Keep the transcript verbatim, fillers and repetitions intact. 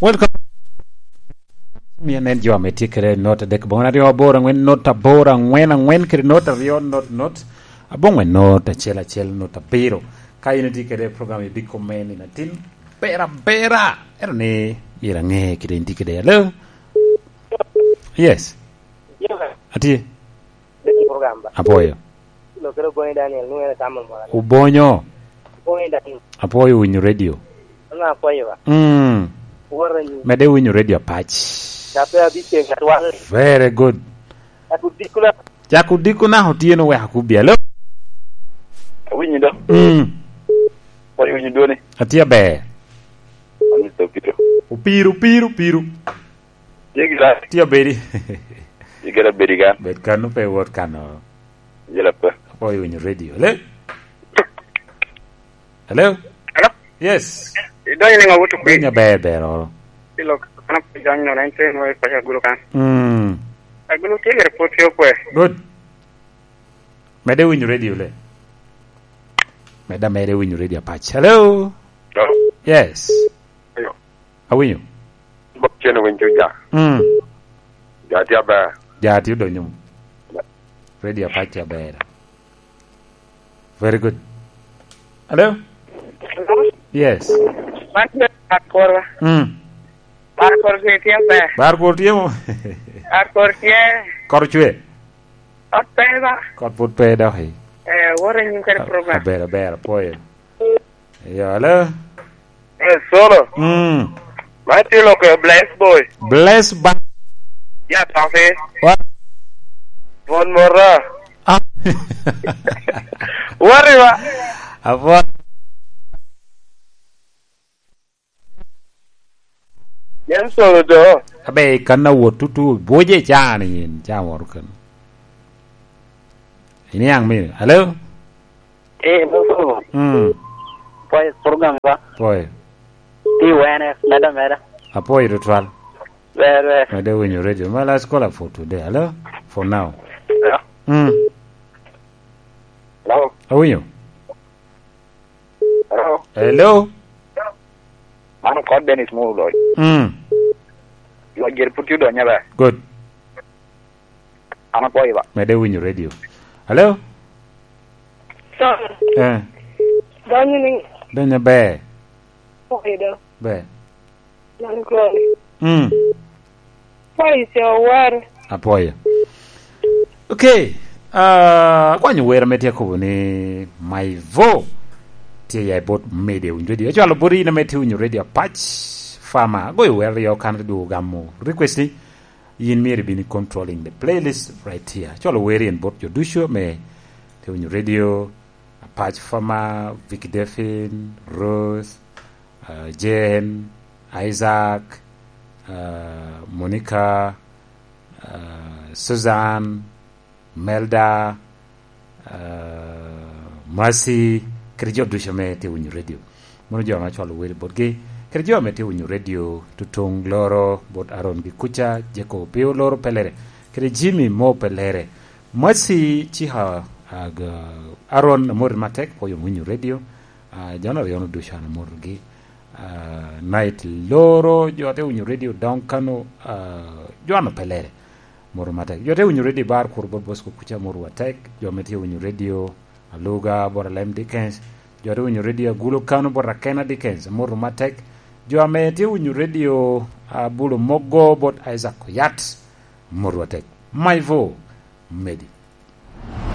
Welcome. Miya nen jo ame tye kede not adek, bongwen aryo, aboro, angwen, not aboro, angwen, angwen, kede not aryo, not, not, abongwen, not acel, acel, not abiro. Ka in itye kede program i biko me nino atin, bera, bera. Ero ni, myero ange kede in tye kede. Hello? Yes. Atye. Program ba. Apwoyo. Lokere Obonyo Daniel, nwoŋo en atamo mora. Obonyo. Obonyo Daniel. Apwoyo winyo radio. Ano apwoyo ba? Mm. Woro ni. Mede winyo radio apac. Kape abiceng atwal. Very good. Aku dikuna. Cak odiko naka otyeno wek akubbi. Hello? Awinyo do. Mm. Apwoyo winyo dwoni. Atye aber. Ani to pito. Opiro, opiro, opiro. Tye gira. Tye abedi. Tye gira bedi kan. Bed kan, pe iwot kan oro. Jela pe. Apwoyo winyo radio. Hello? Hello? Hello? Yes. Idonyo ni ŋa wuto kwi? Donyo aber, ber oro. Ilo kana pe jany no, na in tye no, ipaco agulu kan. Mm. Agulu tye gira pwod tye okwe. Good. Mede winyo radio le. Meda mede winyo radio apac. Hello? Hello? Yes. Hello? Awinyo. Bok cen winy cuca. Mm. Ja tye aber. Ja tye odonyo. Radio apac tye aber. Very good. Hello? Hello? Yes. Man tye bar kor ba? Mm. Bar kor tye, tye aber. Bar kor tye mo? Bar kor tye. Kor cwe? Kot pe ba? Kot pud pe dok i. Eh, what a new kind of program. Aber, aber, apwoyo. Yo, hello? Eh, Solo. Mm. Man tye lok, eh, Bless Boy. Bless ba- Ya, Tofi. Wa- Mon Mora. Ah. Wari wa. Apwa- Nen Solo do. Abe, kan awot tutu, bwoje can in, can wot kan. Iniaŋ mi, hello? Eh, Mosoro. Mm. Pwoyo program ba? Pwoyo. Ti wene, meda, meda. Apwoyo tutwal. Ber, ber. Meda winyo radio. My last caller for today. Hello? For now. Hello? Mm. Hello? Awinyo? Hello? Hello? Mano kod Dennis Mulo. Mm. Yo, jer put yudo nyaba. Good. An apwoyo ba. Mede winyo radio. Hello? Sorry. Eh. Donyo ni. Donyo ber. Pwoyo do. Ber. Nan koni. Mm. Pwoyo ce owar. Apwoyo. Okay. Ah, akwanyo wer ame tye akobo ni Maivo tye ya i bot media winyo radio. Acwalo bot in ame tye winyo radio apac. Fama, agoyo wer aryo kan dwogo gamo request ni. Yin myero ibin i controlling the playlist right here. Colo weri en bot jo ducu ame tye winyo radio, Apac Fama, Vicky Devin, Ruth, uh, Jane, Isaac, uh, Monica, uh, Susan, Melda, uh, Mercy, kede jo ducu ame tye winyo radio. Mono jo ame acwalo wer botgi, kede jo ame tye winyo radio, tutuŋ loro bot Aaron gi kuca, Jeko pe oloro pelere, kede Jimmy mo pelere. Mercy Chiha, uh, Aaron, amoti matek, pwoyo winyo radio. Uh, jo aryo-nu ducu an amotogi. Uh, Night Loro, jo ate winyo radio Down Kano, uh, jo an pelere. Moro matek. Jo te winyo radio Bar Kur bot Bosco kuca, moro matek. Jo ame tye winyo radio Aluga bot Alem Dickens. Jo te winyo radio Agulu Kano bot Akena Dickens, moro matek. Jo ame tye winyo radio Abulo Mogo bot Isaac Oyat, moro matek. Maivo, Medi.